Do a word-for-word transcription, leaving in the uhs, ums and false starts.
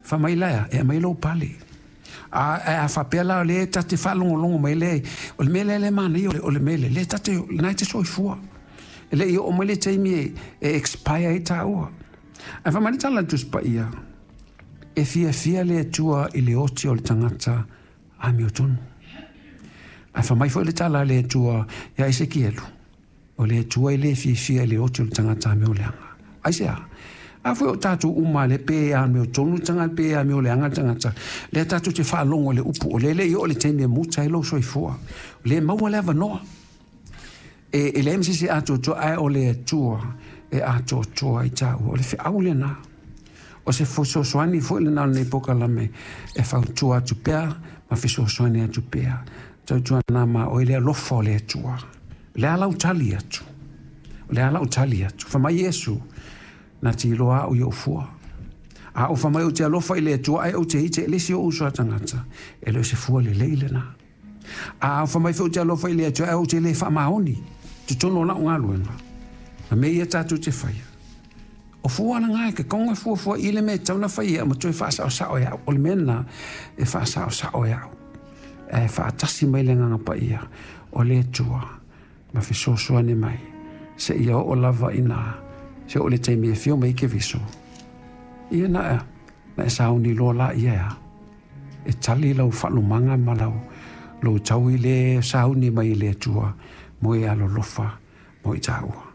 Fai mai la ea, e aumai lou pale. A, a faapea la o lea ta te faalogologo mai lea, o le mea lea le manaia o le mea lea, lea ta te, lena e te soifua. E le i oo mai le taimi e, e expire ai taua. Ae fai mai le tala a le Tusi Paia, e fiafia le Atua i le oti o le tagata amiotonu. Ae fai mai foi le tala a le Atua ia Esekielu, o le Atua e le fiafia i le oti o le tagata amioleaga. Aisea? A foi o tatou uma le pe amiotonu le tagata, pe amioleaga le tagata, lea tatou te faalogo i le upu, o lea e le i oo le taimi e muta ai lou soifua. O lea e maua le avanoa. E, e leai ma se isi e atoatoa, ae o le Atua e atoatoa ai taua. O le feau lena. O se fesoasoani foi lena o lenei polokalame e fautua atu pea ma fesoasoani atu pea. Tautuana ma oe le alofa o le Atua. O le a lau tali atu. O le a lau tali atu. Fai mai Iesu, na te iloa au i ou fua. A ou fai mai ou te alofa i le Atua ae ou te hite i le isi o uso a tagata, e le o se fua lelei lena. A ou fai mai foi ou te alofa i le Atua ae ou te le faamaoni totonu o lau galuega, ma mea ia tatou te faia. O fua lena e ke konga fuafua i le mea e tatau ona fai e au ma toe faasaosao e au. O le mea lena e faasaosao e au. Ae faatasi mai le Agaga Paia o le Atua ma fesoasoani mai seia oo lava ina se oo le taimi e afio mai ai Keriso. Ia na, na e sauni loa la ia ea. E tali lau faalumaga ma lau lou taui le sauni mai i le Atua mo e alolofa mo i taua.